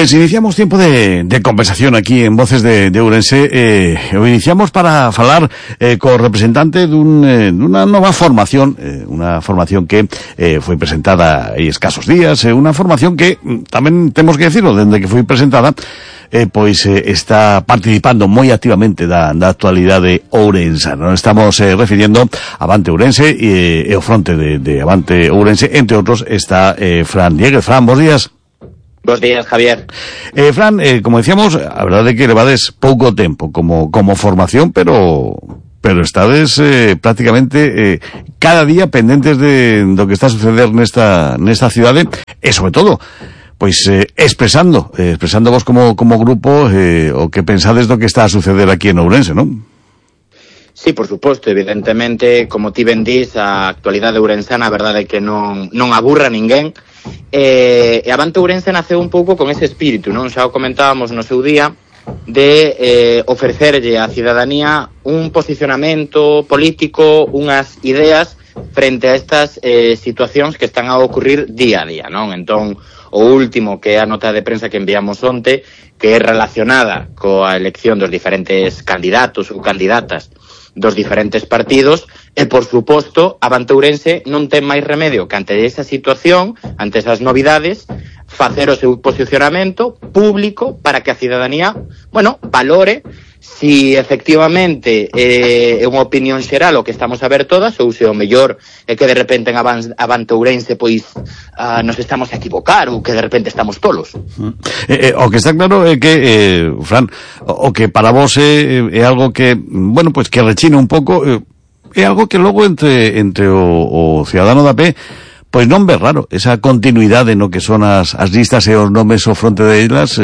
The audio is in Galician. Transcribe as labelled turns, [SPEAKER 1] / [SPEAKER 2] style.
[SPEAKER 1] Pues iniciamos tiempo de conversación aquí en Voces de Ourense. O iniciamos para falar co representante dunha nova formación, unha formación que foi presentada hai escasos días, unha formación que tamén temos que decirlo, dende que foi presentada, pois está participando moi activamente da actualidade ourensana. Nos estamos refirindo a Avante Ourense e o fronte de Avante Ourense, entre outros, está Fran Dieguez. Fran, bons días.
[SPEAKER 2] Bos días, Javier.
[SPEAKER 1] Fran, como decíamos, a verdade é que levades pouco tempo como formación, pero estades prácticamente cada día pendentes do que está a suceder nesta cidade e, sobre todo, pois expresando vos como grupo o que pensades do que está a suceder aquí en Ourense, non?
[SPEAKER 2] Sí, por suposto, evidentemente, como ti ben dís, a actualidade ourensana, a verdade é que non aburra a ninguén. E Avante Ourense naceu un pouco con ese espírito, non? Xa o comentábamos no seu día, de ofrecerlle á cidadanía un posicionamento político, unhas ideas frente a estas situacións que están a ocurrir día a día, non? Entón, o último, que é a nota de prensa que enviamos onte, que é relacionada coa elección dos diferentes candidatos ou candidatas dos diferentes partidos, e, por suposto, Avante Ourense non ten máis remedio que ante esa situación, ante esas novidades, facer o seu posicionamento público para que a cidadanía, valore si efectivamente é unha opinión xeral o que estamos a ver todas, ou se o mellor é que de repente en Avante Ourense pois nos estamos a equivocar, ou que de repente estamos tolos.
[SPEAKER 1] O que está claro é que, Fran, o que para vos é algo que, pois que rechina un pouco, é algo que logo entre o cidadano da pé pois non ve raro, esa continuidade no que son as listas e os nomes ao fronte delas,